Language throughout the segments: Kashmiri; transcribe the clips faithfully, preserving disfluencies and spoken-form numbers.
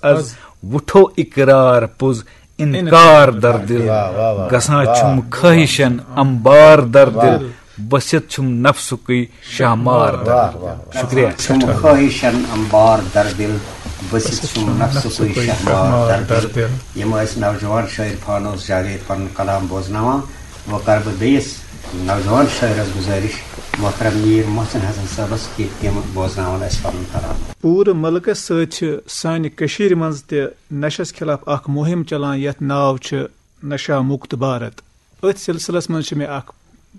از وُٹھو اقرار پوٚز انکار در دل۔ واہ، واہ، واہ۔ گژھان چھُم خٲہشن امبار در دل، بٔسِتھ چھُم نفسُکُے شہمار در دل۔ واہ، واہ، واہ۔ شُکریہ۔ چھُم خٲہشن امبار در دل، بٔسِتھ چھُم نفسُکُے شہمار در دل۔ یِم ٲسۍ نوجوان شٲعر فانوس جاوید پنُن کلام بوزناوان۔ وۄنۍ کرٕ بہٕ بیٚیِس نوجوان شٲعرس گُزٲرِش، محترم میٖر محسن حسن صٲبس، کہِ تِم بوزناون اَسہِ پنُن کلام۔ پوٗرٕ مُلکس سۭتۍ چھِ سانہِ کٔشیٖرِ منٛز تہِ نشس خلاف اکھ مُہِم چلان، یتھ ناو چھُ نشہ مُکت بھارت۔ أتھۍ سلسلس منٛز چھِ مےٚ اکھ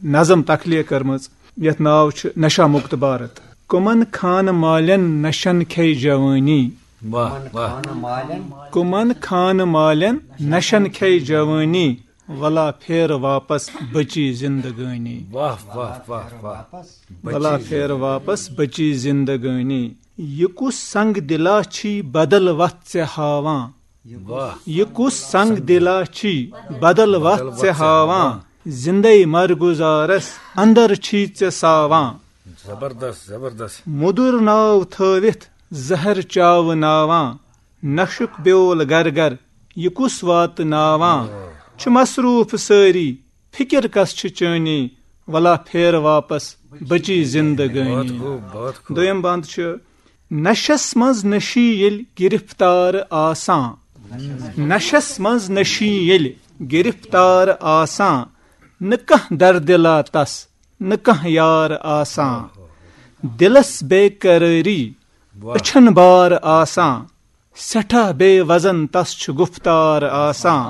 نظم تخلیق کٔرمٕژ، یتھ ناو چھُ نشہ مُکت بھارت۔ کمن خانہٕ مالٮ۪ن نشن کھے جوٲنی۔ واہ، واہ۔ کمن خانہٕ مالٮ۪ن نشن کھے جوٲنی۔ ولا پھیر واپس بچی زندگٲنی۔ واہ، واہ، واہ، واہ۔ ولا پھیر واپس بچی زندگٲنی۔ یہِ کُس سنگ دلا چھی بدل وتھ ژےٚ ہاوان؟ واہ۔ یہِ کُس سنگ دلا چھی بدل وتھ ژےٚ ہاوان؟ زندے مرگزارس اندر چھی ژےٚ ساوان۔ زبردست، زبردست۔ مُدُر ناو تھٲوِتھ زہر چاوناوان۔ نشُک بیول گر گر یہِ کُس واتناوان؟ چھِ مصروٗف سٲری، فکر کس چھِ چٲنی؟ ولا پھیر واپس بچی زندگٲنی۔ بہت خوب، بہت خوب۔ دوٚیِم بند چھُ، نشس منٛز نشی ییٚلہِ گرفتار آسان، نشس منٛز نشی ییٚلہِ گرفتار آسان، نہٕ کانٛہہ دردِلا تس، نہٕ کانٛہہ یار آسان۔ دلس بے قرٲری، واہ۔ أچھن بار آسان، سٮ۪ٹھاہ بے وزن تس چھُ گُفتار آسان۔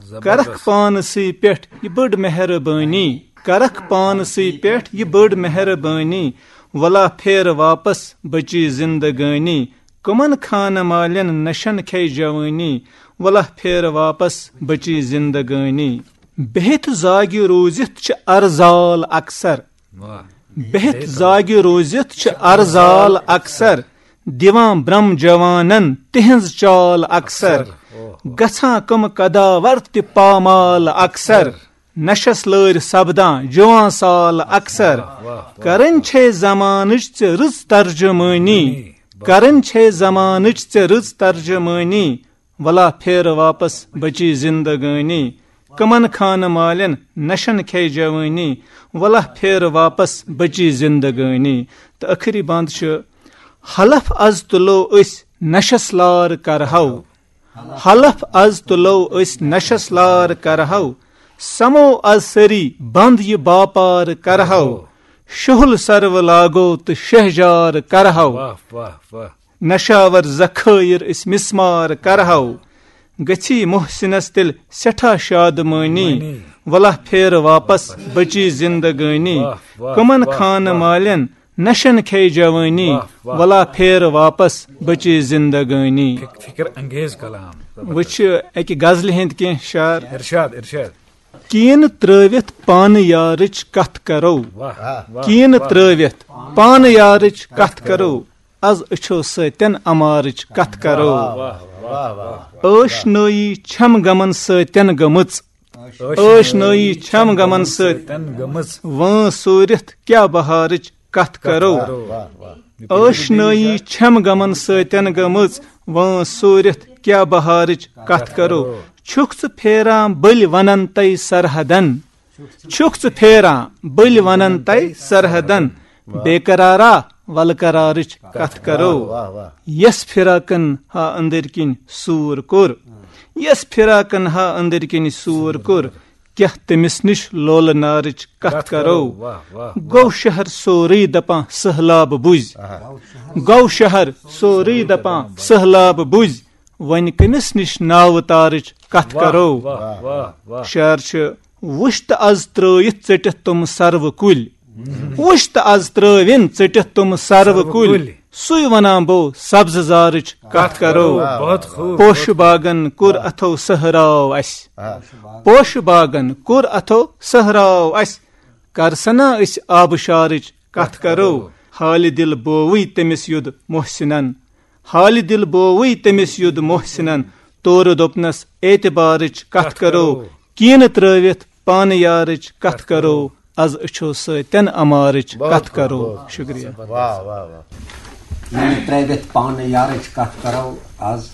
زبردست۔ کرکھ پانسٕے پٮ۪ٹھ یہِ بٔڑ مہربٲنی، کرکھ پانسٕے پٮ۪ٹھ یہِ بٔڑ مہربٲنی۔ ولا پھیر واپس بچی زندگٲنی۔ کمن خانہٕ مالٮ۪ن نشن کھے جوٲنی۔ ولا پھیر واپس بچی زندگٲنی۔ بِہِتھ زاگہِ روٗزِتھ چھِ ارزال اکثر۔ واہ۔ بِہِتھ زاگہِ روٗزِتھ چھِ ارزال اکثر، دِوان برم جوانن تِہنٛز چال اکثر۔ اکثر، اوہ۔ گژھان کم قداور تہِ پامال اکثر، نشس لٲرۍ سپدان جوان سال اکثر۔ واہ، واہ، واہ۔ کرٕنۍ چھے زمانٕچ ژےٚ رٕژ ترجمٲنی، واہ۔ کرٕنۍ چھے زمانٕچ ژےٚ رٕژ ترجمٲنی۔ ولا پھیر واپس بچی زندگٲنی۔ کمن خانہٕ مالٮ۪ن نشن کھے جوٲنی۔ ولا پھیر واپس بچی زندگٲنی۔ تہٕ ٲخری بند چھُ، حلف از تُلو أسۍ نشس لار کرہو۔ حلف از تُلو أسۍ نشس لار کرہو۔ سمو از سٲری بند یہِ باپار کرہو۔ شُہُل سرو لاگو تہٕ شہجار کرہو۔ واہ، واہ، واہ۔ نشاور ذخٲیر أسۍ مسمار کرہو۔ گژھی محسنس تیٚلہِ سٮ۪ٹھاہ شادمٲنی۔ مٲنی۔ ولا پھیر واپس بچی زندگٲنی۔ واہ، واہ، کمن واہ، خانہٕ واہ۔ مالٮ۪ن نشن کھے جوٲنی۔ واہ، واہ۔ ولا پھیر واپس بچی زندگٲنی۔ فک-، فکر انگیز کلام۔ وٕچھ اکہِ غزلہِ ہٕنٛدۍ کینٛہہ شعر۔ ارشاد، ارشاد۔ کیٖنہٕ ترٲوِتھ پانہٕ یارٕچ کتھ کرو۔ واہ، واہ، کیٖنہٕ واہ۔ ترٲوِتھ پانہٕ یارٕچ کتھ کرو۔ از أچھو سۭتٮ۪ن امارٕچ کتھ کرو۔ واہ، واہ، واہ۔ ٲشنٲیی چھم غمن سۭتٮ۪ن گٔمٕژ۔ ٲشنٲیی چھم غمن سۭتۍ۔ تن گٔمٕژ۔ وٲنٛس سوٗرِتھ کیٛاہ بہارٕچ کتھ کرو۔ واہ، واہ، واہ۔ ٲشنٲیی چھم غمن سۭتٮ۪ن گٔمٕژ۔ وٲنٛس سوٗرِتھ کیٛاہ بہارٕچ کتھ کرو۔ چھُکھ ژٕ پھیران بٔلۍ ونن تَے سرحدن۔ چھُکھ ژٕ پھیران بٔلۍ ونن تَے سرحدن۔ بے قرارا ولہٕ قرارٕچ کتھ کرو۔ واہ، واہ۔ یس فراقن ہا أنٛدٕرۍ کِنۍ سوٗر کوٚر۔ یس فراقن ہا أنٛدٕرۍ کِنۍ سوٗر کوٚر۔ کیٛاہ تٔمِس نِش لولہٕ نارٕچ کتھ کرو۔ واہ، واہ، واہ۔ گوٚو شہر سورُے دپان سٔہلاب بُزۍ۔ آہا۔ گوٚو شہر سورُے دپان سٔہلاب بُزۍ۔ وۄنۍ کٔمِس نِش ناوٕ تارٕچ کتھ واہ، کرو۔ واہ، واہ، واہ۔ شعر چھُ، وُچھ تہٕ از ترٲوِتھ ژٔٹِتھ تِم سروٕ کُلۍ۔ وُچھ تہٕ از ترٲوِن ژٔٹِتھ تِم سروٕ سروٕ کُلۍ۔ کُلۍ۔ سُے ونان بو سبزٕ زارٕچ کتھ کرو۔ بہت خوب۔ پوشہٕ باغن کوٚر اتھو سہراو اسہِ۔ آ۔ پوشہٕ باغن کوٚر اتھو سہراو اسہِ۔ کر سنا أسۍ آبہٕ شارٕچ کتھ کرو۔ حالہِ دِل بووٕے تٔمِس یوٚد محسنن۔ حالہِ دِل بووٕے تٔمِس یوٚد محسنن۔ تورٕ دوٚپنس اعتبارٕچ کتھ کرو۔ کینہٕ ترٲوِتھ پانہٕ یارٕچ کتھ کرو۔ از أچھو سۭتٮ۪ن امارٕچ بہت کتھ خوب، کرو۔ بہت۔ شُکریہ۔ واہ، واہ، واہ۔ یعنی ترٲوِتھ پانہٕ یارٕچ کتھ کرو، از